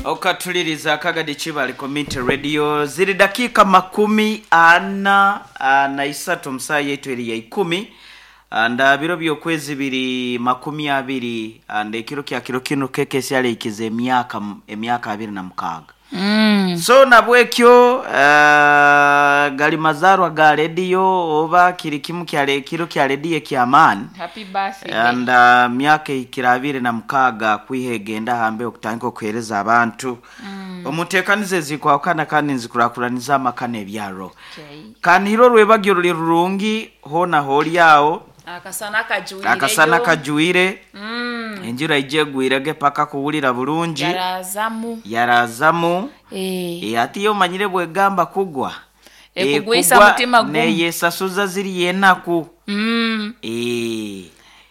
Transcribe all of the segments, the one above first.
Okatuliriza Akagadi Kibale Community Radio. Ziri dakika 43 omusaha yaitu eri ya 10 nda biro by'okwezi biri 20 nda ekiro kya kiro kinu kekesi aleikiza emyaka 26. So nabwekyo gali mazarwa ga rediyo oba kiri kimu kya kiro kya rediyo eky'amaani. Happy birthday. And myaka ehikire 26 kwiha egenda hambe okutandika okuheereza abantu omuteekanizo ezikwahukana kandi nzikurakuraniza amaka n'ebyaro. Kanihire orwebagyo ruri rurungi hoona hoori aho. Akasana kajuireyo. Akasana kajwire. Enjura ije egwirege paka kuwulira bulungi. Yarazamu. Yarazamu. Ati yo omanyire bwegamba kugwa. Ekugwisa Ekugwa mutima gumu. Neyesasuza ziri enaku.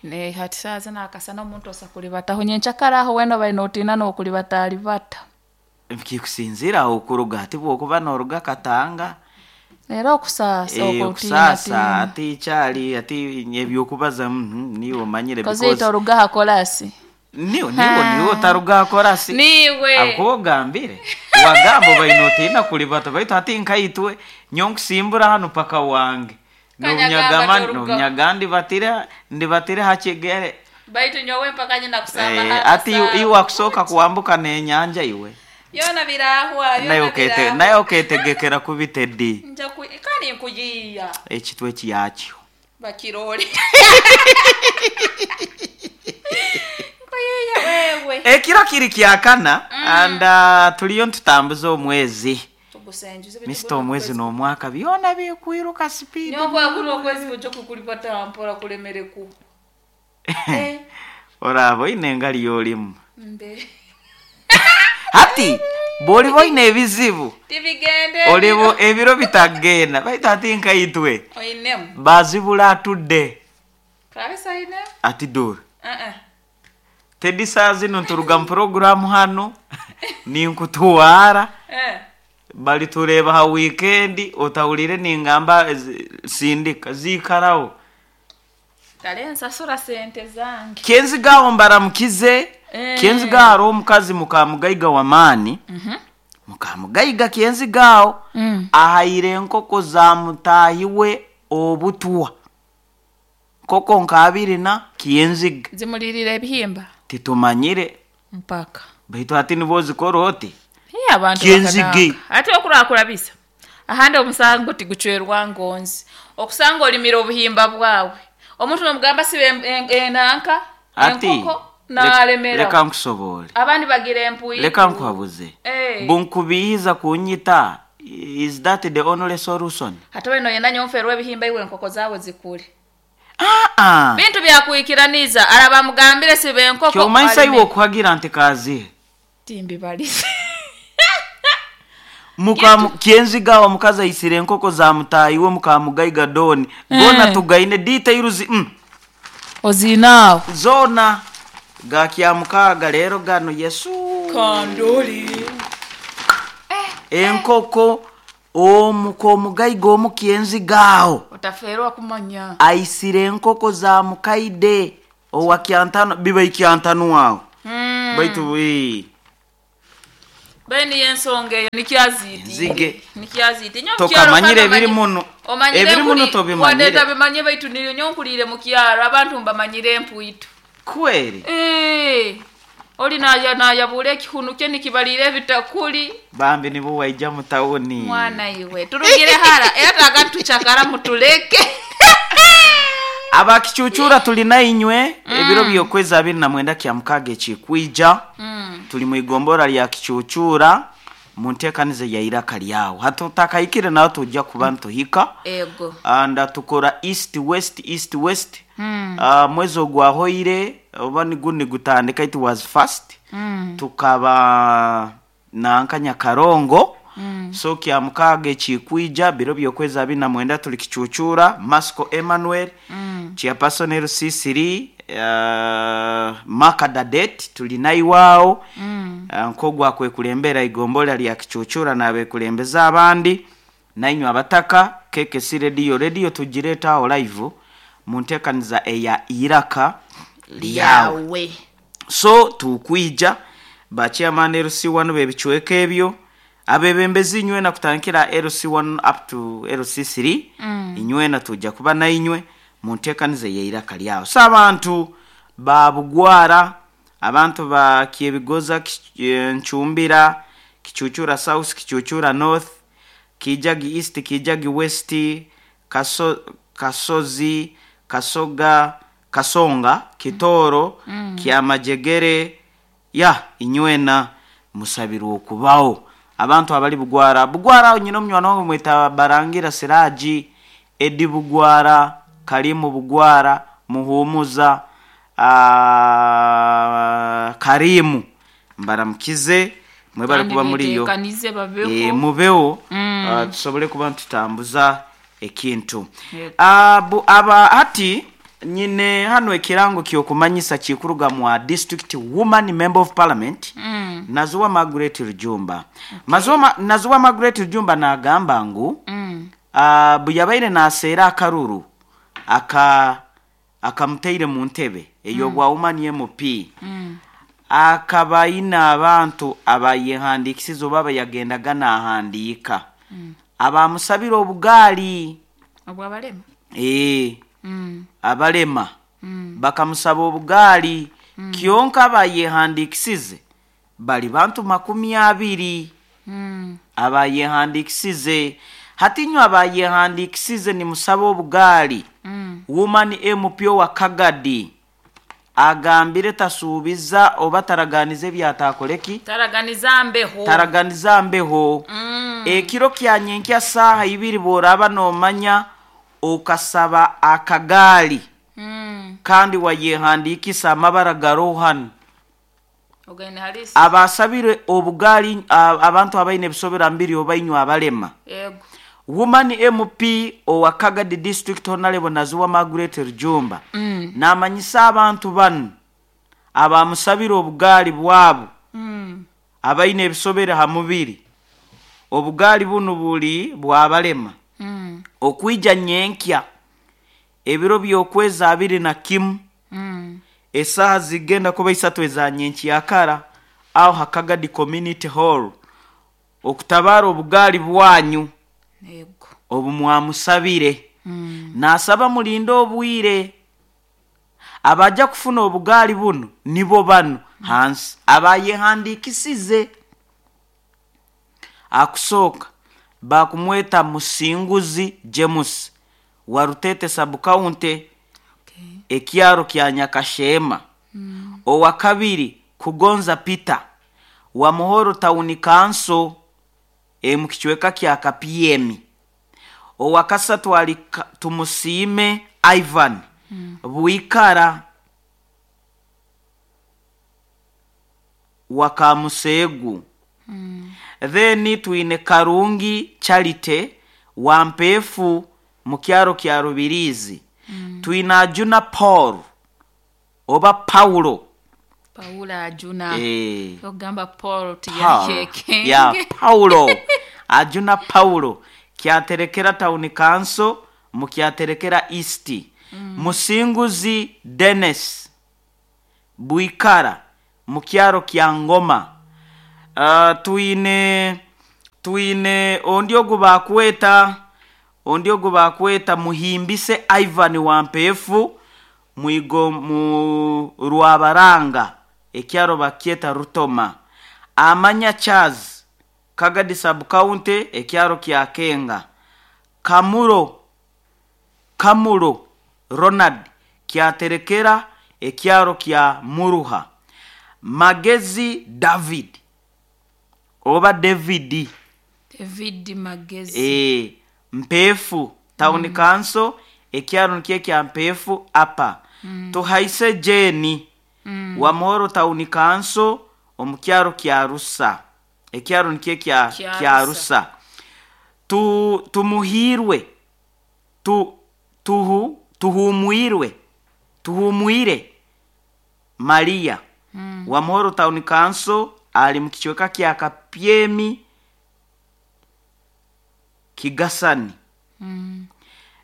Ne hati saaza nakasana omuntu osa kulibataho nyenchakara aho wena obaire notiina n'okulibata alibata. Kikusinziira aho okuruga ati bw'okuba n'oruga Katanga. Era okusaasa okwo Okusaasa otiinatiina. ati kyali ati ebyokubaza niiwe omanyire Kozi because oruga ha korasi. Niwe niwe niwe otaruga ha korasi. Niiwe. Ahabw'okuba ogambire wagamba obaire notiina kulibata baitu hati nkaitwe nyowe nkusimbura hanu paka wange. Kanyagamba toruga. Nobunyaga ndibatire ha kigere. Baitu nyowe mpaka nyina kusamba ha Ati kasaabu. iwe wakusooka kuwambuka n'enyanja iwe. Yona birahwa, yona birahwa. Naye oketegekera kubi Teddy. Nja ku kandi nkuyiiya. Ekitwe kiyakyo. Bakirole. Nkuyiiya wewe. Ekiro kiri kyakana and tuliyo nitutambuza omwezi. Tugusenjuze Mister omwezi n'omwaka byona bikwiruka speed. Nyongo akuna okwezi kujo kukulipata mpora kulemereku. Oraba oine engali y'olimu. Mbe. Hati bw'oliba oine ebizibu. Tibigende. Olibo ebiro bitagenda baitu ati nkaitwe. Oinemu. Bazibula atudde. Kabisa oinemu. Ati dora. Teddy saa zino nturuga mu programu hano ninkutuwara. Bali tureba ha weekend otawulire ningamba sindika zikaraho. Kale nsasura sente zange. Kenzigaho mbaramukize. Kenzigaho hariho omukazi mukamugaiga w'amaani. Mukamugaiga Kenzigaho ahaire enkoko za mutaahi we obutwa. Nkoko nka abiri na Kenziga. Zimulirire ebihimba. Titumanyire. Mpaka. Baitu hati nibo ozikora oti. Hii abantu Kenzige. bakanaka. Ate okurakurabisa. Ahandi omusango tigucwerwa ngonzi. Okusanga olimira obuhimba bwawe. Omuntu nomugamba sibe enanka Ati, enkoko nalemera. Leka nkusobole. Abandi bagira empuyi. Leka nkuhabuze. Bunkubiiza kunyita. Is that the only solution? Hata weno yena nyonferwa ebihimba iwe enkoko zawe zikule. Bintu byakwikiraniza araba mugambire sibe enkoko. Kyomanyisa iwe okuhagira nti kazihe. Timbibalize. Kenzigawa omukazi aisire enkoko za mutaahi we mukamugaiga Doni. Gona tugaine details. Ozinaawo. Zona gakya mukaaga leero gano Yesu. Kandoli. Enkoko omugaiga omu Kenzigaawo. Otaferwa kumanya. Aisire enkoko za mukaide owa kyantano biba ikyantano awo. Baitu Beni yensonga eyo nikyaziiti. Nzige. Nikyaziiti. Nyo Tokamanyire mukyaro ebiri muno. Omanyire Ebiri muno nkuli- tobimanyire. Wadde tabimanye baitu niryo nyo nkulire mu kyaro abantu mbamanyire empuitu. Kweri. Oli nayabula ekihunu kye nikibalira ebitakuli. Bambi nibo waija mu tawuni. Mwana iwe turugire hara era tagatuchakara mutuleke. Abakichuchura tulina inywe ebiro by'okwezi 29 kya mukaaga ekikwija. Tuli mu igombora lya Kichuchura mu nteekanizo ya iraka lyawo. Hatutakahikire nawe tujja kuba ntuhika. Ego. Anda tukora east west east west. Mwezi ogwahoire oba niguni gutandika it was first. Tukaba nanka Nyakarongo. So kya mukaaga ekikwija biro by'okwezi 29 tuli Kichuchura Masco Emmanuel. Chairperson LC3 Makadadet tuli naiwao. Nkogwa kwekulembera igombola lya Kichuchura nabekulembeza abandi nainywa abataka KKC radio radio tugireta aho live mu nteekaniza eya iraka lyawe. So tukwija Ba chairman LC1 b'ebicweka ebyo, abebembezi inywena kutandikira LC1 up to LC3, inywena tujja kuba nainywe munteekaniza ey'eiraka lyawe. So abantu ba Bugwara, abantu ba Kyebigoza, Ncumbira, Kicucura South, Kicucura North, Kijagi East, Kijagi West, Kasozi, Kasoga, Kasonga, Kitoro, Kyamajegere, ya inywena musabirwe okubaho. Abantu abali Bugwara, Bugwara nyina omunywani wange mweta Barangira Siraji, Edi Bugwara, Karimu Bugwara, Muhumuza, Karimu, mbaramukize mwebale Kandi kuba muriyo. beteekanize babeho. Mubeho, tusobole kuba nitutambuza ekintu. Yego. Aba hati nyine hano ekirango kyokumanyisa kikuruga mwa district woman member of parliament, Nazuwa Margaret Rujumba. Nazuwa Margaret Rujumba nagamba ngu, buyabaire naseera akaruru akamuteire mu ntebe ey'obwa woman MP, akaba ayina abantu abayehandikisize oba abayagendaga nahandiika, abamusabira obugaali. Obwabalema? Abalema. Bakamusaba obugaali. Kyonka abayehandikisize bali bantu 20. Abayehandikisize. Hati inywe abayehandikisize nimusaba obugaali. Woman MP wa Kagadi agambire tasuubiza oba taraganiza ebyatakoleki? Taraganiza mbeho. Taraganiza mbeho. Ekiro kya nyenkya saaha ibiri bworaba nomanya okasaba akagaali. Kandi wayehandikisa amabara garoho hano. Ogende halisi. Abasabire obugaali, abantu abaine ebisobera mbiri oba inywe abalema. Yego. Woman MP owa Kagadi District Honorable Nazuwa Margaret Rujumba. Namanyisa abantu bano abamusabire obugaali bwabo. Abaine ebisobera ha mubiri. Obugaali buno buli bwabalema. Okwija nyenkya ebiro by'okwezi 21. Esaha zigenda kuba 3 eza nyenkyakara aho ha Kagadi Community Hall okutabara obugaali bwanyu. Yego. Obu mwamusabire. Nasaba mulinde obwire. Abaja kufuna obugaali buno nibo bano hansi abayehandikisize. Akusooka bakumweta Musinguzi James wa Rutete sub county, ekyaro kya Nyakashema. Owa kabiri Kugonza Peter wa Muhoro Town Council, mu kicweka kya Kapyemi. Owa kasatu ali Tumusiime Ivan Bwikara wa Kamusegu. Then twine Karungi Charite wa Mpefu mu kyaro kya Rubirizi. Twine Ajuna Paul oba Paulo. Paulo Ajuna. Ogamba Paul Paul. tiyakeke. Ya, Paulo. Ajuna Paulo kyaterekera Town Council mu kyaterekera East. Musinguzi Dennis Bwikara mu kyaro kya Ngoma. Twine ondi ogu bakweta, ondi ogu bakweta Muhimbise Ivan wa Mpefu mwigo mu Rwabaranga ekyaro bakyeta Rutoma. Amanya Charles Kagadi sub county ekyaro kya Kenga. Kamuro Ronald kyaterekera ekyaro kya Muruha. Magezi David oba David. David Magezi. Mpefu Town Council ekyaro nikyo kya Mpefu apa. Tuhaise Jeni wa Muhoro Town Council omu kyaro kya Rusa. Ekyaro nikyo Kya kya Rusa. Rusa. Tumuhirwe. Tuhumwirwe. Tuhumwire Maria wa Muhoro Town Council ali mu kicweka kya Kapyemi Kigasani.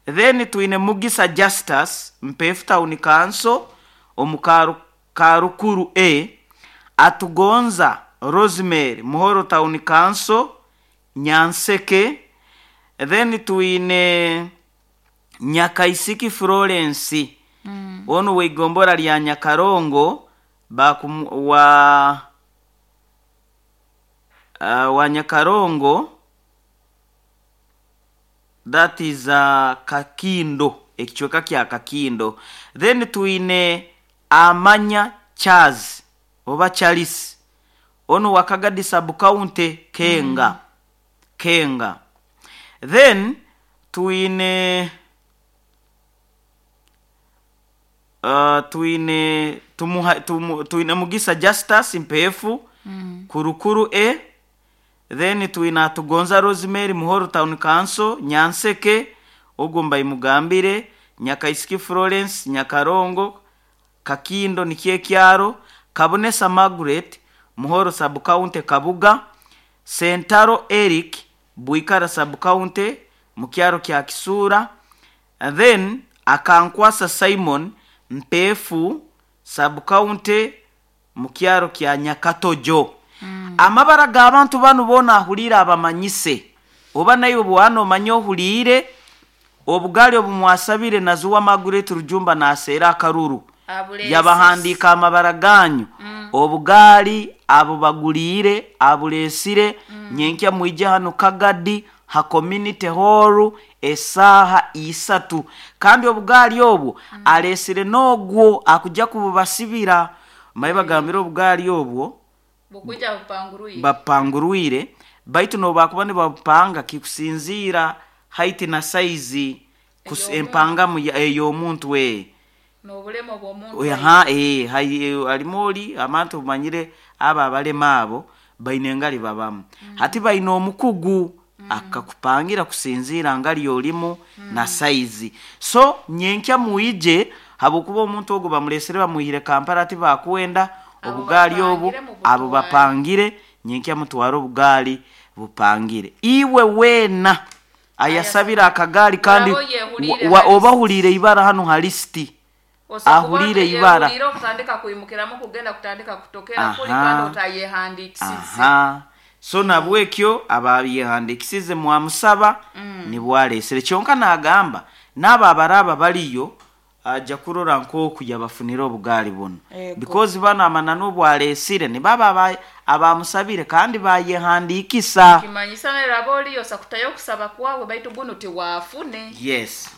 Then twine Mugisa Justus Mpefu Town Council omu Karukuru A. Atugonza Rosemary, Muhoro Town Council, Nyanseke. Then twine Nyakaisiki Florence, onu weigombora lya Nyakarongo, wa Nyakarongo, that is Kakindo, ekichweka kya Kakindo. Then twine Amanya Charles oba Charles, onu wa Kagadi sub county, Kenga. Kenga. Then twine twine Mugisa Justus Mpefu, Kurukuru E. Then twine Atugonza Rosemary, Muhoro Town Council, Nyanseke, ogwo mbayimugambire. Nyakaisiki Florence, Nyakarongo, Kakindo nikyo ekyaro. Kabonesa Margaret, Muhoro sub county, Kabuga. Sentaro Eric, Buikara sub county, mukyaro kya Kisura. And then Akankwasa Simon, Mpefu sub county, mukyaro kya Nyakatojo. Amabara g'abantu banu boona ahuriire abamanyise, oba naye obwana omanye ohuriire obugali obumwasabire nazuwa Margaret Rujumba naseera akaruru. Yabahandiika amabara ganyu. Obugaali abubaguliire abuleesire. Nyenkya mwije hano Kagadi ha community hall esaaha 3, kandi obugaali obwo aleesire n'ogwo akujja kububasibira. Maye bagambire obugaali obwo bukuja bupanguruire, bapangurwire, baitu nobakuba nibabupanga kikusinziira height na size empangamu ey'omuntu we n'obulema bw'omuntu. Aha, halimu oli abantu omanyire abo abalema abo baine engali babamu. Hati baine omukugu akakupangira kusinziira ngali olimu na saizi. So nyenkya mwije, habwokuba omuntu ogwo bamulesere bamuhire Kampala, ati bakwenda obugaali obu abo bapangire. Nyenkya mutware obugaali bupangire. Iwe weena ayasabira akagaali kandi oba huliire ibara hano ha lisiti, ahuliire ibara okutandika kwimukiramu kugenda kutandika kutokera kuli kandi otayehandikisize. So nabwekyo abayehandikisize mwamusaba nibwalesere. Kyonka nagamba n'abo abaraba baliyo aja kurora nk'oku yabafunire obugaali buno, because bano amananu obwalesire nibaba abamusabire kandi bayehandikisa. Kimanyisa neraba oliyo sakutayo okusaba kwawe baitu guno tiwafune. Yes.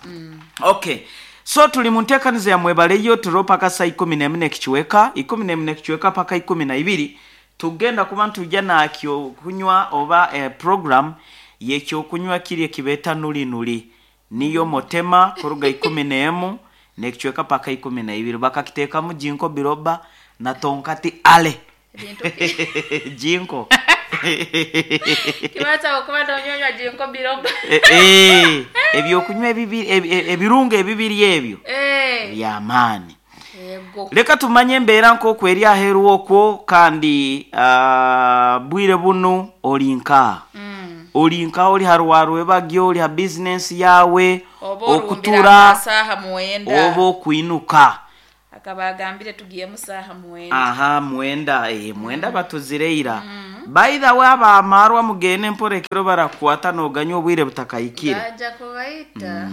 Okay, so tuli mu nteekaniza ya mwebaleyo turo paka saa 14 ekichweka 14 ekichweka paka 12. Tugenda kuba ntujja nakyo kunywa oba program yekyokunywa kiri ekibeta nuli nuli niyo motema kuruga 11 nekichweka paka 12. Bakakiteekamu jinko biroba na tonkati ale jinko kibaza okuba tonyonywa jinko biroba. Ebyokunywa ebirungo ebibiri ebyo byamaani. Leka tumanye embeera nk'oku eri aheeru okwo, kandi bwire buno oli nka oli nka oli harwarwebagyo, oli ha bizinensi yawe, okutura oba okwinuka. Akaba agambire tugiyemu saaha 9. Aha, 9, 9 batuzireira. By the way, abamarwa mugende mpora ekiro barakwata noganya obwire butakayikire. Baja kubaita.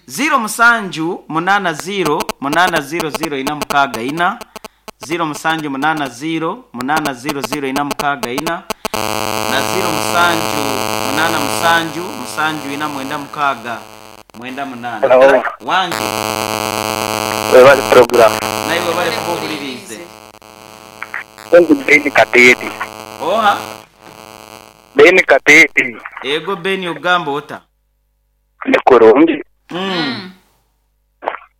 0 7 8 0 8 0 0 4 6 4, 0 7 8 0 8 0 0 4 6 4 na 0 7 8 7 7 4 9 6 9 8. Wange. Webale program. Naiwe bale kubuulirize. Beni Katete. Oha? Beni Katete. Ego Beni, ogamba ota? Ni kurungi.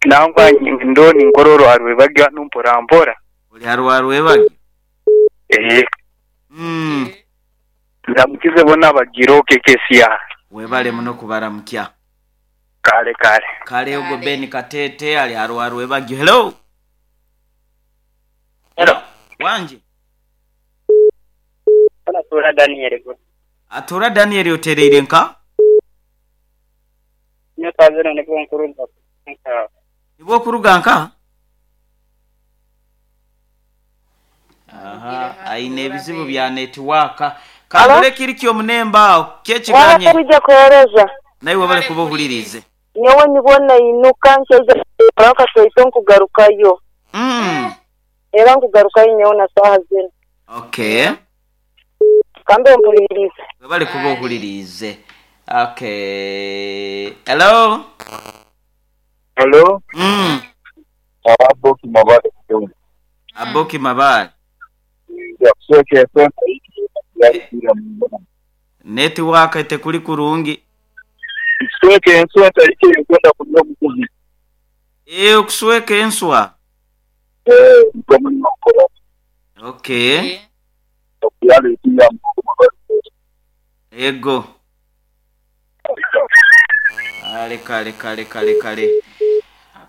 Nangwa ndoni nkororo arwebagya numpora mpora. Oli harwarwebagya? Eh. Ndamukize bona bagiroke kesiya. Webale muno kubaramukya. Kale kale. Kale ogo Beni Katete ali harwarwebagyo. Hello. Hello. Wanje. Atura Daniel. Atura Daniel otereire nka? Nyakazana nibwo nkuruga nka. Nibwo kuruga nka? Aha, aine ebizibu bya netiwaaka kandore kiri kyomunemba aho kyekiganye Wabije kuhereza naye wabale kuba ohulirize. Nyowe nibona inuka nkeija kasoito nkugarukayo. Era nkugarukayo nyowe na saha zino. Okay. Kambe mpulirize. Wabale kuba ohulirize. Okay, hello. Hello. Aboki Mabale. Aboki Mabale. Netiwaka etekuli kurungi. Kusweka enswa tariki kwenda kunywa mukuzi. Okusweka enswa. Okay. Ego. Kale kale kale kale kale.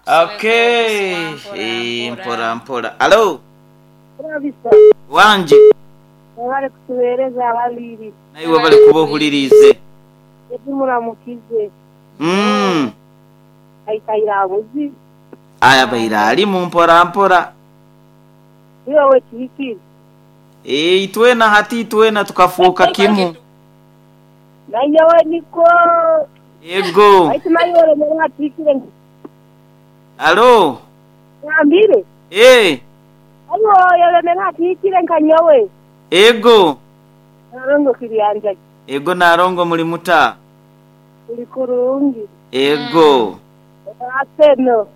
Okay. Mpora mpora. Hello. Wanje. Wabale kutuhereza abaliri. Naye wabale kuba ohulirize. Muramukize. Aikaira abuzi. Aya baira ali mu mpora mpora. Iwe kiki. Itwena hati itwena tukafuuka kimu. Naye niko. Ego. Aitima yore mera tikire. Alo. Ngambire. Ayo yore mera tikire nkanyowe. Ego. Narongo kiriyanja. Ego narongo muri muta. Uri kurungi. Ego. Aseno.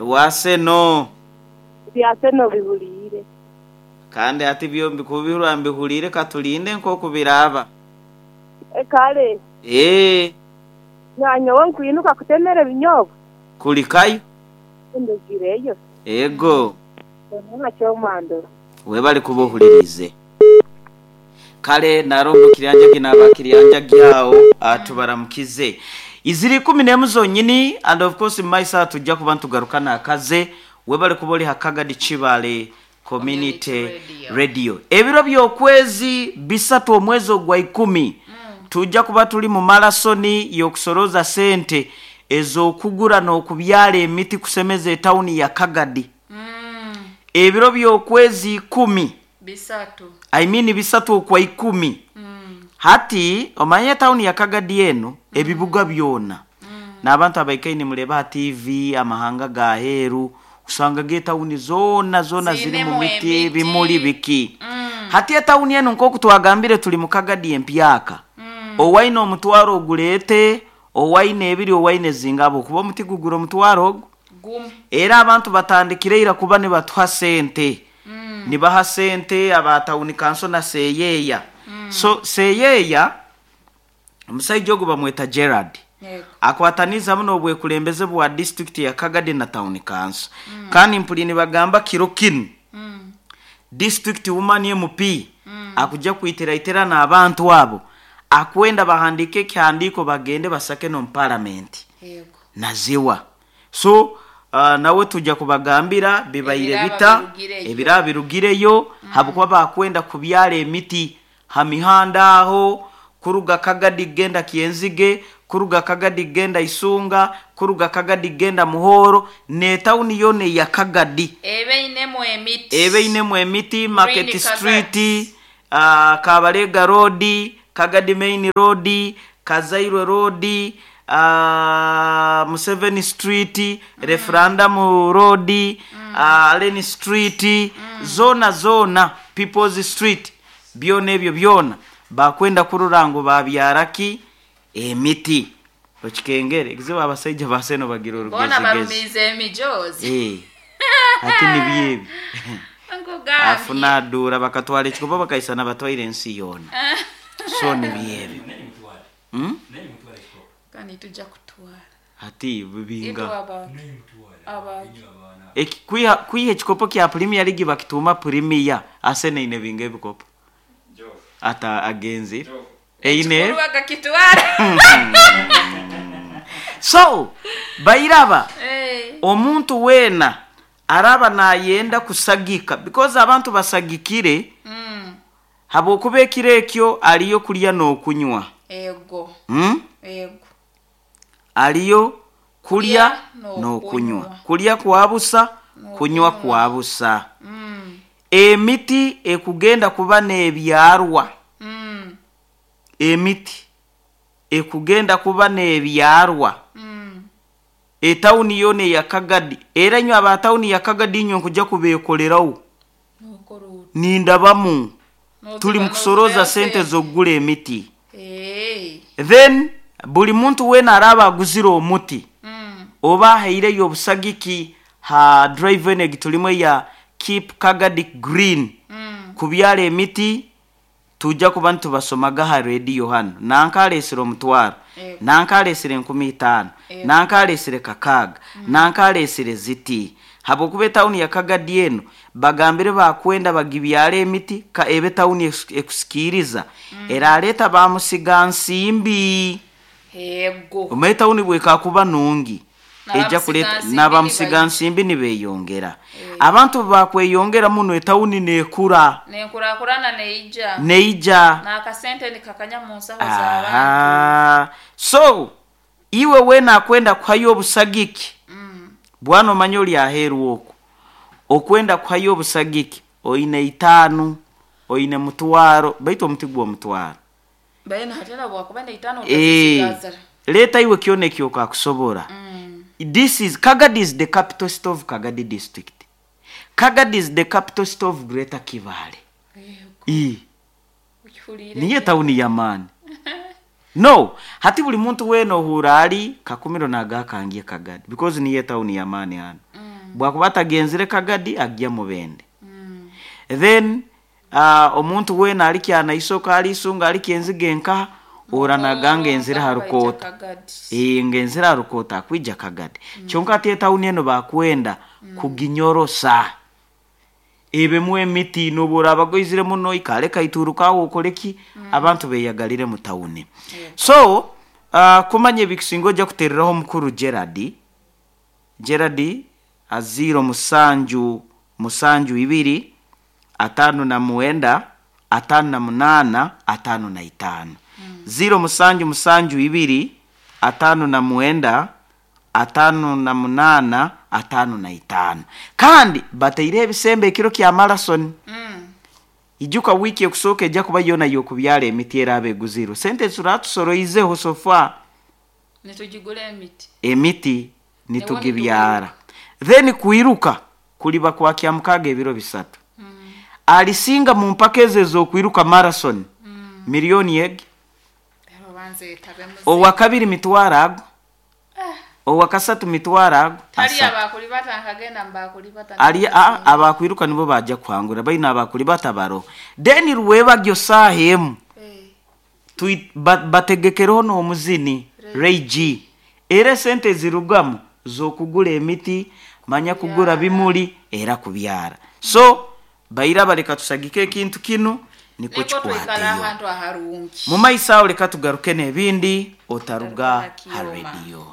Waseno. Byaseno bihulire. Kandi ati byombi kubihura mbihulire katulinde nko kubiraba. Ekale. Nyanyowe nkwinuka kutemera binyobwa. Kulikayo. Ndugireyo. Ego. Nacyo mando. Webali kubohulirize. Kale narongo kiriyanja kinaba kiriyanja gyao atubaramukize. Iziri 11 zonyini and of course maisa tujja kuba ntugarukana akaze webali kuboli Hakagadi Chibale Community Radio. Ebiro by'okwezi 3 omwezi ogwa 10 tujja kuba tuli mu marasoni y'okusoroza sente ez'okugura n'okubyala emiti kusemeza etawuni ya Kagadi. Ebiro by'okwezi 10 bisatu. I mean 3 okwa 10. Hati omanye tawuni ya Kagadi eno ebibuga byona. N'abantu abaikaine muleba TV amahanga ga heru usanga ge tawuni zona zona ziri mu miti bimuli biki. Hati etawuni eno nkoku twagambire tuli mu Kagadi empyaka. Owaine omutwaro ogulete, owaine ebiri, owaine zingabo kuba omuti gugura omutwaro ogu. Era abantu batandikire kuba ne batuha sente. Nibaha sente abatawuni kanso na seyeya. So seyeya omusajja ogu bamweta Gerard. Akwataniza muno obwekulembeze bwa district ya Kagadi na town council. Kandi mpulini bagamba kiro kinu. District woman MP akuja kuitera na abantu abo. Akwenda bahandike kihandiko bagende basake no parliament. Naziwa. So nawe tujja kubagambira bibaire bita ebira birugireyo habukuba bakwenda kubyala emiti hamihanda aho kuruga Kagadi genda Kienzige, kuruga Kagadi genda Isunga, kuruga Kagadi genda Muhoro, ne tawuni yone ya Kagadi. Ebe inemu emiti Market Street, Kabalega Road, Kagadi Main Road, Kazairwe Road, Museveni Street, Referendum Road, Allen Street, zona zona People's Street, byona ebyo byona bakwenda kururango babyaraki emiti. Okikengere ekizibu abasajja baseno bagira Bona orugezigezi. barumize emijozi. Ati nibyebi. Nkugambye. Afuna dura bakatwala ekikopo bakaisana batwaire ensi yona. So nibyebi. Kandi tujja kutwala. Ati bibinga. Abantu. Kwiha ekikopo kya Premier League bakituma Premier asene ine binga ebikopo. Ata agenzi. Eine. So bairaba omuntu wena araba nayenda kusagika because abantu basagikire habwokuba ekiro ekyo aliyo kulya n'okunywa. Ego. Ego. Aliyo kulya n'okunywa. Kulya kwa busa, kunywa kwa busa. Emiti ekugenda kuba n'ebyarwa, emiti ekugenda kuba n'ebyarwa etawuni yoona eya Kagadi. Era inywe aba tawuni ya Kagadi, inywe nkujja kubeekolerawo. Nokora oti? Nindabamu tuli mukusoroza Noziba sente z'okugura emiti. Then buli muntu weena araaba aguzire omuti oba ahaireyo obusagiki ha drive enu egi tulimu eya Keep Kagadi Green, kubyara emiti, tujja kuba nitubasomaga ha rediyo hanu: nanka aleesire 500, nanka aleesire 5000, nanka aleesire 600, nanka aleesire ziti, habwokuba etawuni ya Kagadi enu bagambire bakwenda bagibyara emiti ka ebe tawuni ekusikiiriza, eraleeta bamusiga nsimbi. Omu etawuni bwekakuba nungi, ejja kuleta N'abamusigansimbi. N'abamusigansimbi nibeyongera. Abantu bakweyongera muno, etawuni nekura. Nenkurakurana neija. Neija. N'akasente nikakanya mu nsaho z'abantu. Aha, so iwe weena akwenda kuhayo obusagiki, bwana, omanye oli aheeru okwo okwenda kuhayo obusagiki, oine 5, oine 500, baitu omuti gwo 500. Baina hatera bwakuba neitaano. Otazisigaza. Leeta iwe kyona ekyokakusobora. This is Kagadi, is the capital city of Kagadi District. Kagadi is the capital city of Greater Kibale. Ukihuliire. Niyo tawuni y'amaani. No hati buli muntu weena ohuura ali Kakumiro nagakangiye Kagadi, because niyo etawuni y'amaani hano. Bwakuba atagenzire Kagadi, agya Mubende. Then omuntu weena ali Kyanaisoka, ali Isunga, ali Kyenziga enkaha, ohura naganga enzire ha Rukoota. Ngenzire ha Rukoota, akwija Kagadi. Kyonka ati etawuni eno bakwenda kuginyorosa ebemu emiti, nobu oraaba goizire muno, ikale kaiturukaho, okole ki, abantu beyagalire mu tawuni. So kumanya ebikusinga, ojja kutereraho omukuru Gerard. Gerard aziiro 7 7 2 59 58 55, 0772 59 58 55. Kandi bataireho ebisembo ekiro kya marathon. Ijuka wiiki ekusooka ejja kuba yoona y'okubyara emiti eraaba eguzirwe sente zituraa so far. Nitugigura emiti. Emiti nitugibyara, then kwiruka kuliba kwa Kyamukaaga ebiro 3. Alisinga mu mpaka ezo ez'okwiruka marathon, miliyoni egi. Rero banzeetabe muze. Owakabiri mitwaro ago, owakasatu mitwaro ago tali 3. Abakulibata nkagenda mubakulibata. Ali abakwiruka nibo bajja kuhangura, baina abakulibata baro. Then rwebagyo saaha 1 bategekereho n'omuzini Ray G. Era esente zirugamu z'okugura emiti, manya kugura bimuli era kubyara. So baira baleka tusagike ekintu kinu nikwo niko twikala kikwateyo ahantu aharungi. Mu maiso aho, leka tugaruke n'ebindi. Otaruga Otaruga ha Kyoma. rediyo.